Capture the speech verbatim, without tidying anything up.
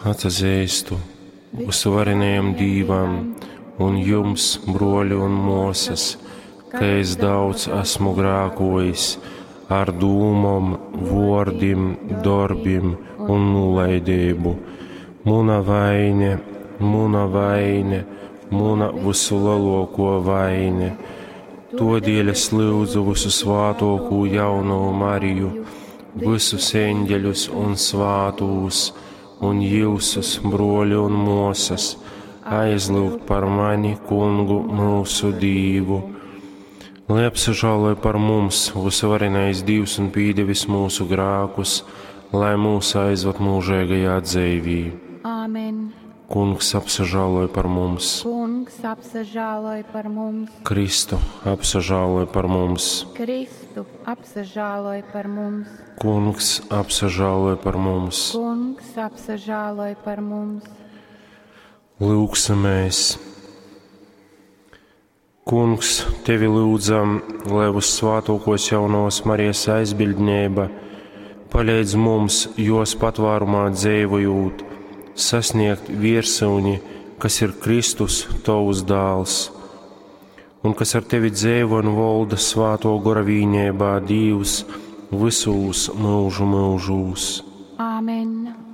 Atsazeistu vysuvarenajam Dīvam un jums, bruoļi un muosys, ka es daudz esmu grākuojis ar dūmom, vuordim, dorbim un nūlaideibu. Muna vaine, muna vaine, muna vysuleluokuo vaine. Tuodēļ es lyudzu vysusvātuokū jaunovu Mariju, vysus eņģeļus un svātūs, un jyusus, bruoļi un muosys, aizlyugt par mani Kungu myusu Dīvu. Lai apsažāloj par mums vysuvarenais Dīvs un pīdevis mūsu grākus, lai mūs aizvad mūžīgajā dzeivī. Āmen. Kungs apsažāloj par mums, Kungs apsažāloj par mums. Kristu apsažāloj par mums, Kristu apsažāloj par mums. Kungs apsažāloj par mums. Kungs apsažāloj par mums. Lūgsimies! Kungs, tevi lūdzam, lai vyssvātākos jaunās Marijas aizbildnība palīdz mums, jos patvārumā dzīvojot, sasniegt viersyuni, kas ir Kristus, tavs dēls, un kas ar tevi dzīvo un valda svāto gora vīnībā Dīvs visūs mūžu mūžūs. Āmen.